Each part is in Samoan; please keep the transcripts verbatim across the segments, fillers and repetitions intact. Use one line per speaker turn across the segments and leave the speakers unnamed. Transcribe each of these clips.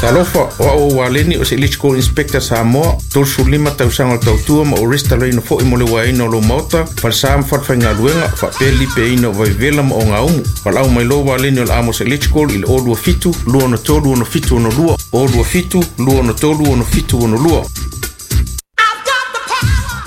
Talofa, o au o Waleni o se Electrical Inspector Samoa, tolu lima tausaga o le tautua ma o restalaina fo'i mo le uaeina o lou maota, falesa ma falefaigaluega, faapea le lipeaina o vaivevela ma ogaumu. Valaau mai loa Waleni o le Amos Electrical i le zero two seven two three six seven six two, zero two seven two three six seven six two.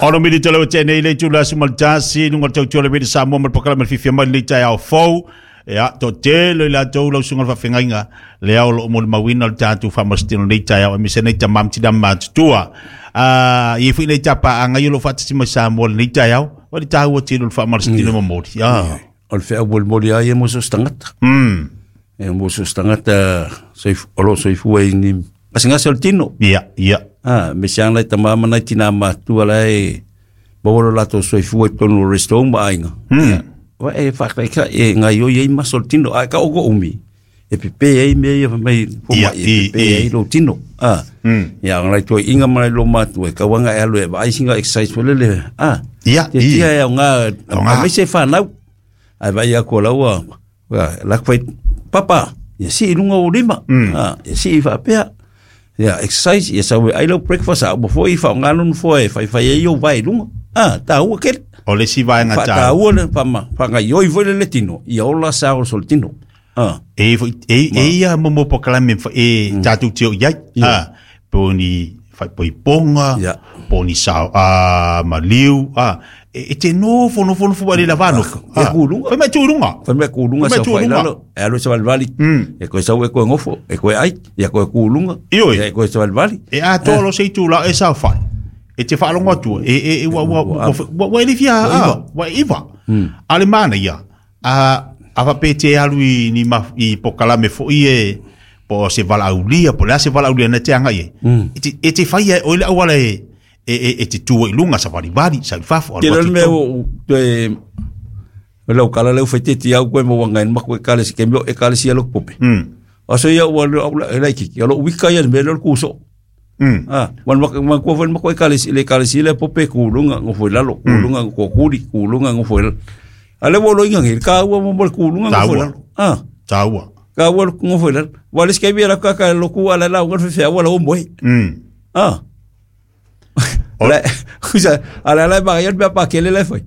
Ono mili tolo tene ile tula sumaltasi nunga tautua le Samoa ma le pakalama le fifia mai le taeao fou. Ia, to tele i latou lau suga le faafegaiga le ao loo molimauina le tatou faamasitino nei taeao aemaise nei tamā ma tinā matutua. Ah, ia foi nei tapaaga ia o loo faatasi mai Samoa lenei taeao, o le taua tele o le faamalasitino momoli. Ah.
O le feau molimoli ai e mo so se tagata.
Mm.
E mo so se tagata soif- o loo soifua i ni gasegase o le tino.
Ia, ia.
Ah, me se ana i tamā ma nai tinā matua la e maua lo latou soifua i totonu o rest home ma aiga.
Mm.
Wa e whakaika e ngai oi ei maso le tino. Ai ka oko umi. E pepe ei mea ia mai fo
Ia,
mai e
i,
pepe
i.
ei lo tino. Ah.
Mm.
Ia ngai toi inga mai lo matu e kawanga e alu e vai singa exercise fo lele. Ah.
Ia,
Te
i.
tia e au ngā
Au ngā.
a mai se whanau. Ai vai a ko laua. Wa la kwai papa. Ia si lunga o lima.
Mm.
Ah, ia si i whapea. Ia exercise ia sawe ai lo breakfast a mo fo i wha ngā fo e whai whai e o vai lunga. Ah, tā ua kere.
O le si vaenga
Fa
tāua.
tāua le whama, whanga ioi foi le le tino, ia ola sa o sol tino. Ah.
E foi e e ia momo pokalame fa e tātou te o iai.
Ia.
Ah, po ni whai poiponga,
Ia.
po ni sao a maliu, ah, e, e te nofo nofo nofo wale la vano.
E kulunga.
Fai mai tūrunga.
Fai mai kulunga
Fai mai
sa whai
tūrunga.
lalo, e alo sa walwali.
Mm.
E koe sau e koe ngofo, e koe ai, ia koe kulunga.
Ioi.
E koe sa walwali.
E a tolo se i tūla e sao whai. E te whaalongo atua, e, e, e, wa, wa, wa, wa, wa e le fia,
Wa
ah, wa iwa. A le mana ia, a, a wape te alu i, ni ma, i pokalame fo i e, po se vala aulia, po lea se vala aulia na te anga i e. E te, e te whai e, oile awala e, e, e, e te tua i lunga, sa wari wari, sa i fafo,
Te
alu
lor
atu
mea
tonu.
o, te, lau kala leu whai te te au koe mo wanga en mako e kale si kemio e kale si alo pope.
Mm.
Aso ia ua lau e lai kiki, alo wika ia me lor kuso.
Mm.
Ah, wan mak wan ko wan mako e kale si le kale si le pope kulunga ngofo lalo, kulunga ngo kuri, kulunga ngofo lalo. Ale wo lo inga ngil ka ua mo mo kulunga ngofo
Tāua.
lalo. Ah,
Tāua.
ka ua ngofo lalo. Wa le skebi la ka ka lo ku ala la ngol fe wa la o moe.
Mm.
Ah. La kusa ala la ba ya pa ke le le foi.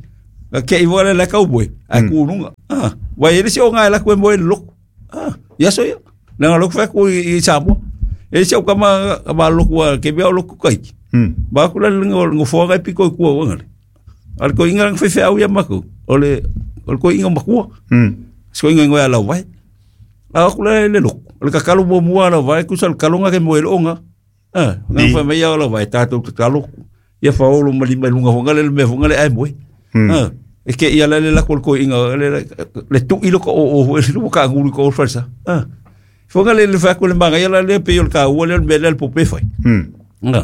Ka ke i wala la ka boy. A kulunga. Ah, wa ele si o ngai la ku moe lo. Ah, ya so ya. Na lo fa ku i sapo. E se o kama kama lo ku ke bia lo ku kai.
Mm.
Ba ku la ngo ngo fo ngai piko ku o ngale. Al ko inga fe fe au ya mako. Ole ol ko inga makua.
Mm.
Sko inga ngo ala vai. A ku la le lo. Ole ka kalo mo mua ala vai ku sal kalonga ke mo ele onga. Ah, nga
Ni.
fa mai ala vai ta to kalo. Ia fa olo mali mai lunga fonga le me fonga le ai moe.
Mm.
Ah, e ke ia la le la ko inga le le tu ilo ko o o le ka ngulu ko falsa. Ah. Fonga le le fa ko le manga ia la le pe yo ka o le me le po pe fai.
Mm.
Nga.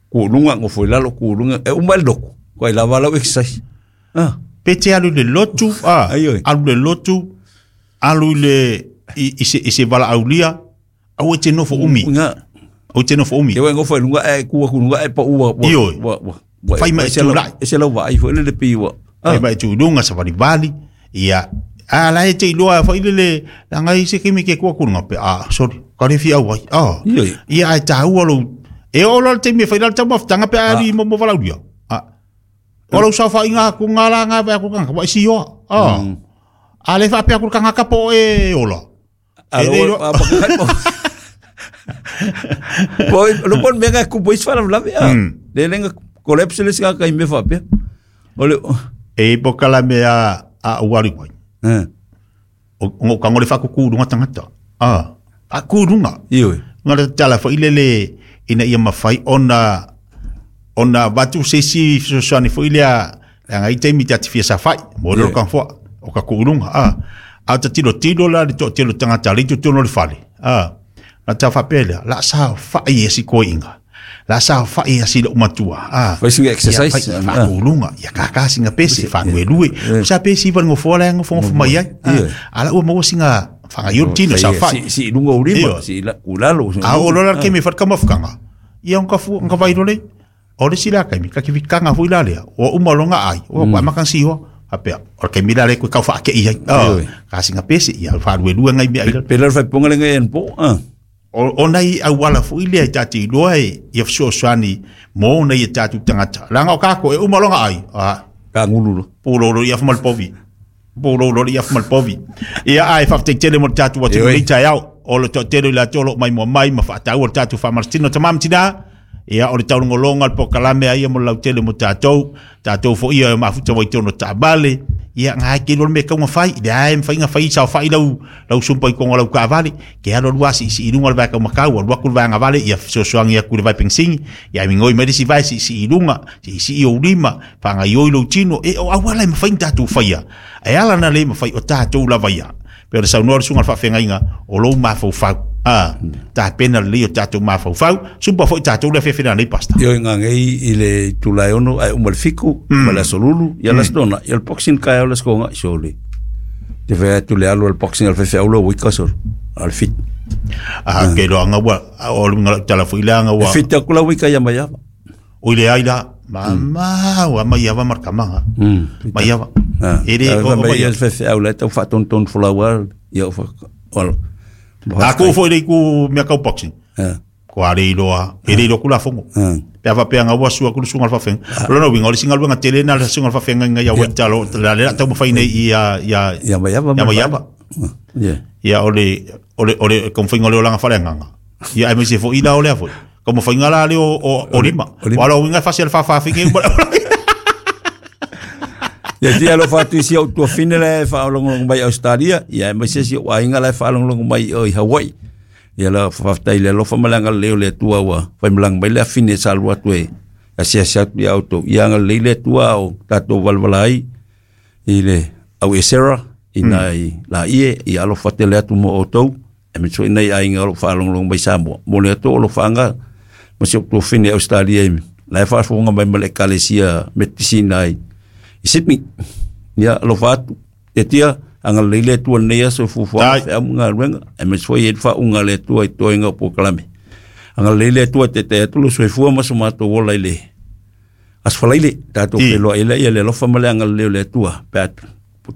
Ku lunga ngo foi lalo ku lunga e uma loko. Ko ila vala exercise. Ah.
Pe te alu le lotu, ah,
Ai, oi.
alu le lotu, alu le i, i se, i se vala aulia, au e te nofo umi.
Nga.
Au te nofo umi.
Ke wa ngo foi lunga e ku ku lunga e pa ua.
Ioi.
Wa wa. wa-
Fai mai
e se lau-
tūlai.
E se lau vai foi le le pi wa.
Fai mai tu lunga sa wari wali, ia, a la e te iloa fai le le, la ngai se kimi ke kua kurunga pe, ah, sorry, ka re fi au ai, ah.
Ioi.
Ia ai tāua lo, e o lo te me fai la tau mafutanga pe ari mo mo vala aulia. Ah. O lau sa whai ngā ku ngā la ngā whai ku kanga, wai si oa, ah. A le wha pea ku kanga kapo e ola.
Alo
E le iloa-
a pa kai po. Poi lo pon mega ku pois fala la vea. Le lenga collapse le singa kai me fa pe. Ole
E pokala me a, a uari wai.
eh
O ngo ka ngole whaku kūrunga tangata. Ah, a kūrunga.
ioi.
Ngā le tala whai lele ina ia mawhai ona ona watu se si fesoasoani foi lea leaga i taimi te atifia sa whai mo lelo
Yeah.
ka foa o ka kūrunga. Ah, a ta tilo tilo la le toatele o tagata le i totonu o le fale. Ah, na tau faapea lea la sa fa'i e si koi'iga. La sa fa'i e si la'u matua. Ah,
Fai singa exercise.
Ia, fai faakulunga ia kākā singa pese faaluelue. Sa pese iva le gofoa lae gofogofo mai ai. Ah, ala ua maua singa fagaiolo tino sa fa'i.
Si si lunga ulima
Iyo.
si la kulalo.
A o lola ke me whatka mafukanga. Ia onka fu onka vai role. O le sila kai mi ka ki kanga fu ila lea. O uma longa ai. O kwa makan siho. Apea. O ke mila le ku kau wha ke ia.
Oi.
Ka singa pese ia wha lue lue ngai mea ila.
Pela fai ponga lenga en po. Ah.
O o nai auala foʻi lea i tatou iloa e ia fesoasoani mo nai e tatou tagata laga o kako e uma loga ai a
Ka ngulu lo.
pulolo ia fama le povi pulolo ia fama le povi ia ai faafetai mo le tatou atunuu
Ioe.
nei taeao o le toatele i latou o loo mai mua mai ma faataua le tatou faamalositino tamā ma tinā ia o le taulogologa le pokalame aia mo le lautele mo tatou tatou foʻi ia mafuta mai tonu taavale ia gae ke lo le mea kauga fai le ae mafaiga fai saofaʻi lau lau sumpa i koga lau kaavale ke alo lua siisii luga o le vae kaumakau alu aku le vaega vale ia fesoasoagi aku i le vae pegisigi ia migoi mai le isi vae siisii i luga siisii ou lima fagaioi lou tino e o auala e mafai na tatou faia e ala na lē mafai o tatou lava ia pe o le saunoa le suga le faafegaiga o lou mafaufau a tapena lelei o tatou mafaufau sumpa foʻi tatou le afeafe nei pasta.
Io nga ngei i le tulai ono ai uma le fiku, ma le asolulu, ia la stona, ia le boxing kai o le skonga sole. Te fe atu le alu al boxing al fefe au lo wika sol. Al fit.
A ke loaga ua o luga tala foʻi leaga
E
ua
fit aku la wika ia mai ava.
O ile ai la ma ua mai ava markamaga
Mm.
mai ava
Ah.
e le o
O
mai
mai fefe au le tau faatonton fulaua ia o fa olo.
a ku foi le ku mea kau boxing
Ah.
ko ale iloa e le iloa kula fongo
Ah.
pe ava pe anga ua sua kulu sunga fa lo no winga o le singa luenga tele na le sunga fa fenga ia ua talo la le tau mafai nei ia ia
Ia mai ava.
ia mai ava.
Yeah.
Ia o le o le o le konfinga le olanga fale nganga ia ai me se fo ila o le foi como fainga la le o o o lima
o lima.
o lo winga fasi al fa fa finge
Ia tia lo fatu isi au tua fine le whaalongolongo mai Australia, ia e mai se si o ainga le whaalongolongo mai o i Hawaii. Ia la whaftai le alofa malanga leo le tua ua, whai malanga mai le afine sa alua atu e, asia sia atu ia auto. Ia anga le le tua o tātou walawala ai, i le au e Sarah, i nai la ie, i alofa tele atu mo o tau, e me sui nei ainga o whaalongolongo mai Samoa. Mo le atu o lo whaanga, ma si o tua fine Australia i, la e whaafonga mai male kalesia metisina ai, i Sydney. Ia alofa atu. Te tia, anga leile tua nei aso fufua
Ai.
fe amunga luenga, e me sui e wha unga le tua i toenga o pokalame. Anga leile tua te te atu lo soifua ma so matou ola i le asfalaile, tātou
I.
wheloa ila ia le alofa ma le anga leo le tua, pe atu,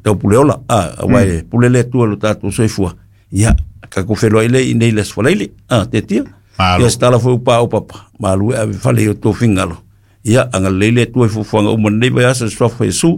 tau pule ola, a, a wai, pule le tua lo tātou soifua. Ia, kako wheloa ila i nei le asfalaile, a, te tia.
Malo.
Ia stala fo upa o papa, malu e ave fale i o tō fingalo. Ia, anga leile tua i fufuanga uma nei vai asa swafa Yesu,